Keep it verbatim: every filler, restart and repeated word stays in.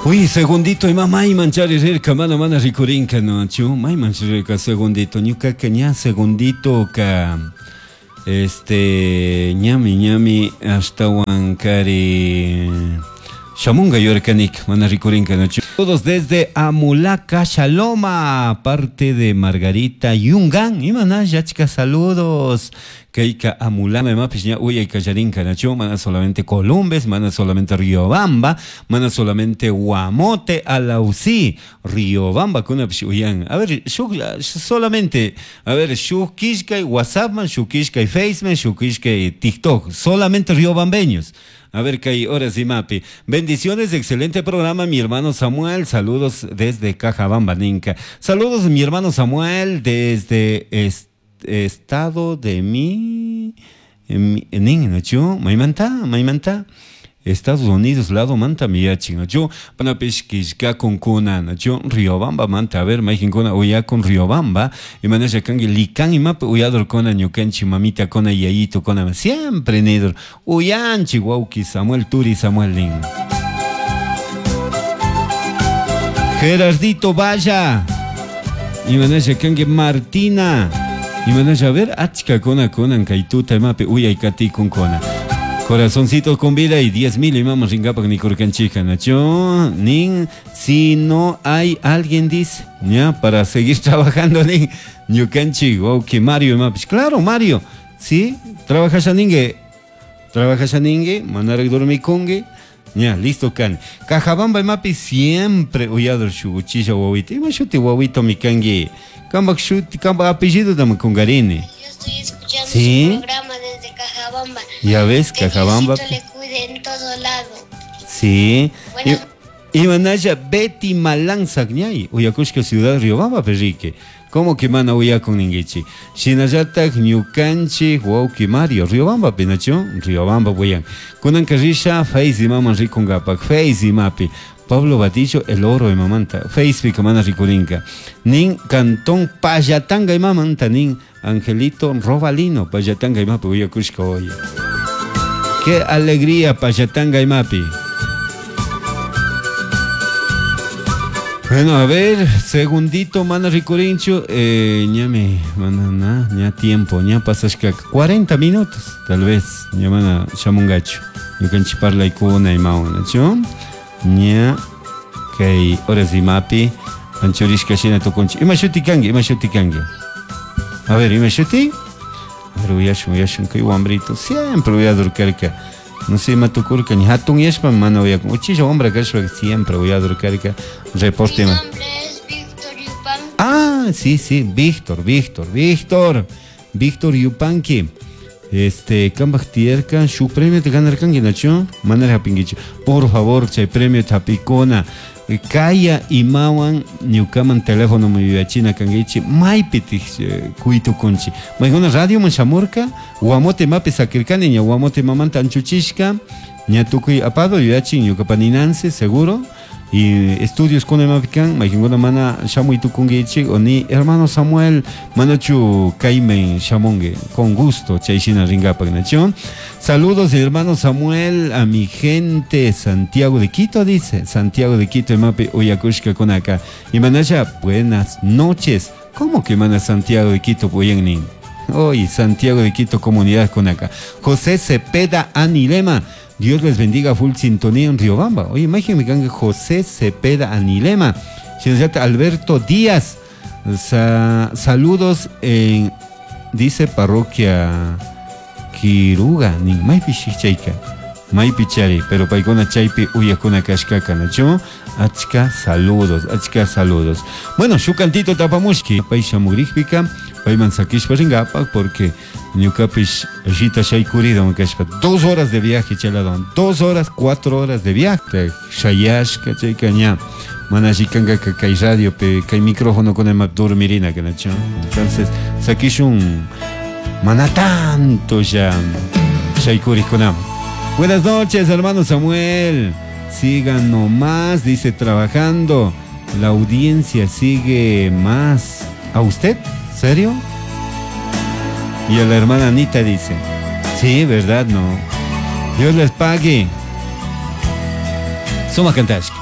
Uy, segundito, ima mayman chari rirka, mana mana rikurinka, no, chu, mayman rirka, segundito, ñukaka ña segundito ka, este, ñami, ñami, ashtawan kari, shamunga yurkanik, mana rikurinka, no, chu. Todos desde Amulaca, Shaloma, parte de Margarita Yungan, imana, yachka, saludos. Keika Amulama, imapis ña uyay kallarinka, nacho, mana solamente Columbes, mana solamente Riobamba, mana solamente Guamote, Alausí, Riobamba, kunapish uyan. A ver, shuk, solamente, a ver, shuk kishkay WhatsAppman, shuk kishkay Faceman, shuk kishkay TikTok, solamente riobambeños. A ver, kay horas y mapi. Bendiciones, excelente programa, mi hermano Samuel. Saludos desde Cajabamba, Ninca. Saludos, mi hermano Samuel, desde este estado de mi, mi nin, ¿no? Maimanta, maimanta. Estados Unidos, lado manta miyachi, ¿no? Yo, panapish kishka con kuna, ¿no? Yo, Riobamba manta, a ver, maijin kuna, uya con Riobamba, y manasha kangi likan y map, uyador kona, ñukanchi, mamita kona, yayito kona, siempre nidor, uyanchi, wauki, Samuel Turi, Samuel Nin. Gerardito Vaya, y manasha kangi Martina, y manasha, a ver, achka kona, konan, kaituta, mape, uyay kati con kona. Corazoncito con vida y diez mil y vamos ringapak ni kurkanchija, nacho, nin, si no hay alguien dice, ya, para seguir trabajando, nin, ñukanchi, ok, Mario, mapis, claro, Mario, sí, trabaja ningue, trabaja ningue, manarek dormikungue, ya, listo, can. Cajabamba mapi siempre uyador shuguchisha wawita, ima shuti wawito mi kangi, kambak shuti, kambak apellido dame kungarini. Yo estoy escuchando ¿sí? Su programa desde Cajabamba. Ya ves, que Cajabamba. Diosito le cuide en todo lado. Sí. Bueno. Y, y manaya Betty Malanzak ñay, uyakushka ciudad Riobamba perrique. ¿Cómo que mana uyakun ninguichi? Shinallatak ñukanchi wauki Mario Riobamba penacho, Riobamba buyan. Kunan karrisha Face maman rikungapak, Face mapi. Pablo Batillo, el oro de mamanta, Facebook mana rikurinka. Nin Cantón Payatanga y mamanta, nin Angelito Robalino, Payatanga y mapi, uyakushka hoy. Qué alegría, Payatanga y mapi. Bueno, a ver, segundito, mana ricurincho, eh, ñame, mana, na, ña tiempo, ña pasashka, cuarenta minutos, tal vez, ña mana shamungacho, ñukanchi parla ikuna y mauna, chu, ña, kay horas y mapi, anchurishka shina tukunchi, ima shuti kangi, ima shuti kangi, a ver, ima shuti, a ver, uyashun, uyashun, kay wambrito, siempre uyadurkarka. No sé, matukurka, ni hatun yashpa, mana uyakun. Uchilla hombra kashpa, siempre uyadurkarka, reporte. Mi nombre es Víctor Yupanqui. Ah, sí, sí, Víctor, Víctor, Víctor. Víctor Yupanqui. Este, kambaj tierka, shu premio te ganarkanki, nacho? Manara hapinkichu. Por favor, chay premio tapikona. Kaya imawan ñukaman teléfono mi yuyachina kankichi, maypi kuitu kunchi. Maykuna radio man shamurka, Guamote mapi sakirkani, ña Guamote mamanta anchuchishka, ña tukuy apado yuyachin ñukapa ninanse, seguro. Y estudios con mapikan, maykuna mana shamuy tukunkichi, o ni hermano Samuel, manachu kaimen shamongue, con gusto, chayshina ringapak nacho. Saludos hermano Samuel, a mi gente Santiago de Quito, dice, Santiago de Quito, mapi uyakushka con acá. Y manaya, buenas noches. ¿Cómo que mana Santiago de Quito, puyennin? Hoy, Santiago de Quito, comunidad con acá. José Cepeda Anilema. Dios les bendiga, full sintonía en Riobamba. Oye, imagínate que José Cepeda Anilema. Alberto Díaz. Sa saludos en, dice, parroquia Quiruga. Ni maypi chayka. Maypi chari, pero paykuna chaypi uyakuna kashkaka, nacho. Achka saludos, achka saludos. Bueno, shu cantito tapamushki. Pay shamurikpika, payman sakishpa ringapak, porque ñukapish rita shaykurido kashpa. Dos horas de viaje, chaladón. Dos horas, cuatro horas de viaje. Shayashka, chayka ña. Mana shikanga kay radio, pe kay micrófono con el map dormirina, que nacho. Entonces, sakishun mana tanto ya shaykurikkunam. Buenas noches, hermano Samuel. Sigan nomás, dice, trabajando. La audiencia sigue más. ¿A usted? ¿Serio? Y a la hermana Anita dice, sí, ¿verdad? No. Dios les pague. Suma Kantashka.